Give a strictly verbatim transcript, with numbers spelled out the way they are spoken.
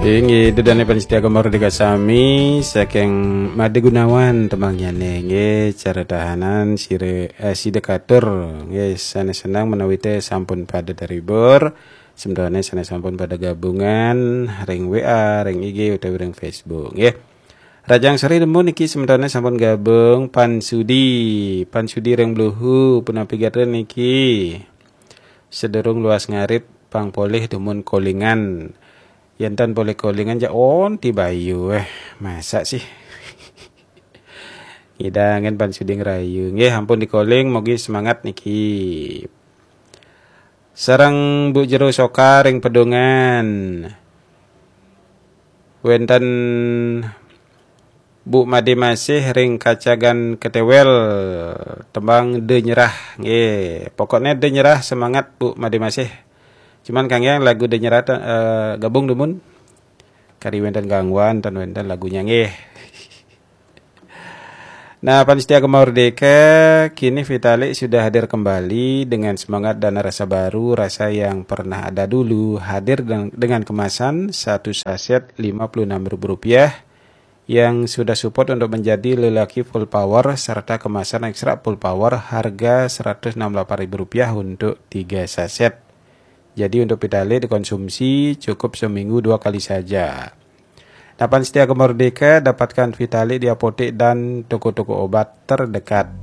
Inggih, ida dané pamiarsa Gema Merdeka sami, saking Made Gunawan tembangnyané, nggih, cara tahanan sire, eh, sida katur, nggih, sané seneng menawi té sampun pada terhibur, sementara sané sampun pada gabungan ring W A, ring I G utawi ring Facebook, nggih. Rajang sore dumun niki sementara sampun gabung Pan Sudi, Pan Sudi ring Bluhu, punapi gatra niki. Sedurung luas ngarit pang polih dumun kolingan. Yen tan polih kolingan ja onti bayu, eh, masa sih. Ngidangen Pan Sudi ngrayu. Nggih, ampun dikoling, mogi semangat niki. Sareng Bu Jero Soka ring Pedungan. Wenten Bu Made Masih ring Kacagan Ketewel, tembang De Nyerah. Nggih, pokoknya De Nyerah, semangat Bu Made Masih. Cuman kanggé lagu De Nyerah, eh, gabung dumun. Kari wenten gangguan, tan wenten lagunya, nggih. Nah, pamiarsa Gema Merdeka, kini Vitalik sudah hadir kembali dengan semangat dan rasa baru, rasa yang pernah ada dulu, hadir dengan, dengan kemasan satu saset lima puluh enam ribu rupiah yang sudah support untuk menjadi lelaki full power serta kemasan ekstra full power harga seratus enam puluh delapan ribu rupiah untuk tiga saset. Jadi untuk Vitalik dikonsumsi cukup seminggu dua kali saja. Nah, pamiarsa Gema Merdeka, dapatkan Vitalik di apotek dan toko-toko obat terdekat.